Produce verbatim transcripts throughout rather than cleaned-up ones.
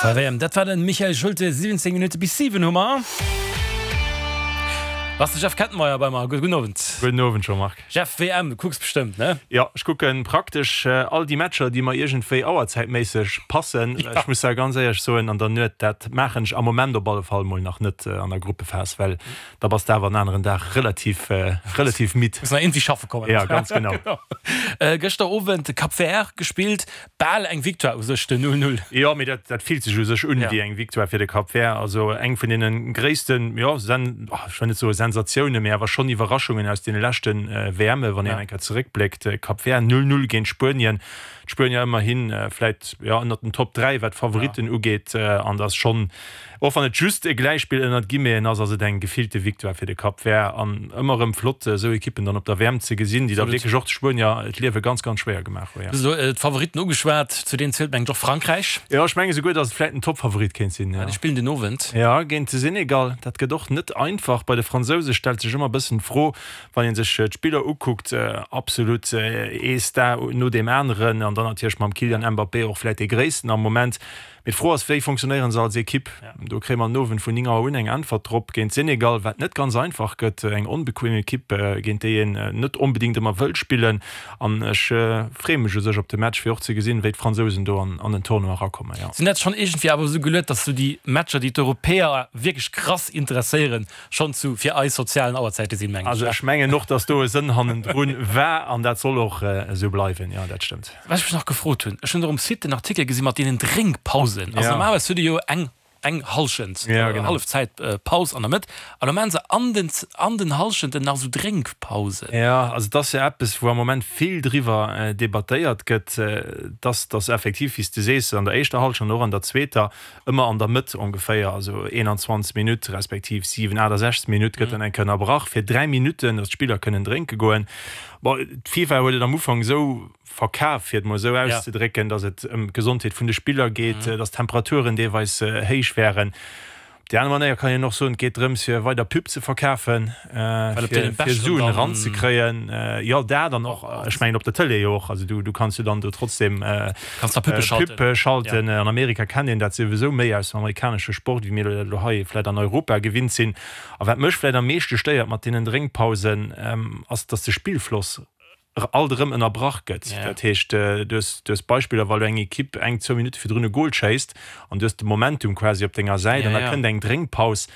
W M, dat war den Michael Schulte. siwwenzéng Minutte bis siwen hu mer. Ass de Jeff Kettenmeyer bei mer. Gudden Owend. Gudden Owend, Jean-Marc. Jeff, W M, du kucks bestëmmt, ne? Jo, ech kucken praktesch all déi Matcher, déi mer iergendwéi auerzäitméisseg passen. Ech muss da ganz éierlech soen, an der Nuet, dat maachen ech am Moment op alle Fall mol nach net an der Gruppephas, well da bass de awer en aneren Dag relativ, relativ midd. Muss nach iergendwéi schaffe kommen. Ja, ganz genau. Gëschter Owend Cap Vert gespillt, bal eng Victoire u sech, den null null. Jo, mee dat, dat fillt sech u sech un wéi eng Victoire fir de Cap Vert. Also eng vun deene gréissten, jo, Sen, ech wëll net soe Sensatiounen, mee awer schonn Iwwerraschungen aus deene leschte W Mme wann een eng Kéier zeréckbléckt. Cap Vert null null géint Spuenien. D'Spuenier ëmmerhi vläit, jo, ënnert den Top dräi wat d'Favoritten ugeet, an dat ass schonn, och wann et just e Gläichspill ënnert Guillemeten ass, ass et eng gefillte Victoire fir de Cap Vert an ëmmer erëm flott esou Ekippen dann op der W M ze gesinn, déi da wierklech och de Spuenier d'Liewe ganz, ganz schwéier gemaach hunn. Du hues elo d'Favoritten ugeschwat, zu deenen zielt mengen ech och Frankräich. Jo, ech menge souguer, datt et vläit den Toppfavorit kéint sinn, jo. Déi spillen den Owend. Jo, géint de Senegal. Dat gëtt och net einfach. Bei de Fransouse stellt sech ëmmer e bëssen d'Fro, wann ee sech d'Spiller ukuckt, absolut ee Star no deem aneren an dann natierlech mam Kylian Mbappé och vläit dee gréissten am Moment. Mee d'Fro ass, wéi funktionéiere se als Ekipp? Do kréie mer den Owend vun néng Auer un eng Äntwert drop géint Senegal, wat net ganz einfach gëtt. Eng onbequem Ekipp, géint déi een net onbedéngt ëmmer wëllt spillen. An ech freeë mech u sech op de Match, fir och ze gesinn, wéi d'Fransousen do an den Tournoi erakommen. Sinn dat schonn iergendwéi awer esou geluet, datt sou déi Matcher, déi d'Europäer wierklech krass interesséieren, schonn zu fir eis sozialen Auerzäite sinn, mengen ech. Also ech mengen och, datt do e Sënn hannendrun war an dat soll och esou bleiwen. Jo, dat stëmmt. Wat ech mech nach gefrot hunn, ech hunn och um Site den Artikel gesi mat deenen Drénkpausen. Also normalerweis hutt Dir jo eng eng Hallschent, Hallefzäit Paus an der Mëtt, an elo maachen se an den an den Hallschenten nach esou Drénkpausen. Jo, also et ass jo eppes, wou am Moment vill driwwer debattéiert gëtt, dass dass effektiv, wéi s de sees, an der éischter Hallschent an och an der zweeter ëmmer an der Mëtt ongeféier, also eenanzwanzeg Minutt respektiv siwen, aachtasechzeg Minutt gëtt dann eng Kéier ënnerbrach fir dräi Minutten, datt d'Spiller kënnen drénke goen. Bon, d'FIFA huet et am Ufank esou verkaf, fir et mol esou auszedrécken, datt et ëm d'Gesondheet vun de Spiller geet, datt d'Temperaturen deelweis héich wären. Op déi aner Manéier kann een och soen, et geet drëms, fir weider Pub ze verkafen, fir Suen eranzekréien. Jo, dat an och, ech mengen op der Tëlee jo och. Also du kanns jo dann do trotzdem Pub schalten. An Amerika kennt een dat souwisou méi aus dem amerikanesche Sport, wéi mir dat elo hei vläicht an Europa gewinnt sinn. A wat mech vläicht am meeschte stéiert mat deenen Drénkpausen, ass, datt de Spillfloss alt erëm ënnerbrach gëtt. Dat heescht, du hues, du hues Beispiller, wa lo eng Ekipp eng, zwou Minutte virdrun e Gol schéisst an du hues de Momentum quasi op denger Säit an da kënnt eng Drénkpaus,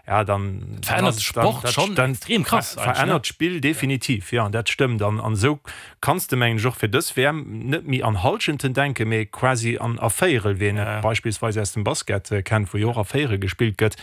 ja, dann, Dat verännert de Sport schonn extrem krass eigentlech, ne? Verännert d'Spill definitiv, jo, dat stëmmt. An, an esou kanns de, mengen ech, och fir dës W M net méi an Hallschenten denken, mee quasi an a Véierel, wéi een et beispillsweis aus dem Basket kennt, wou jo och a Véierel gespillt gëtt.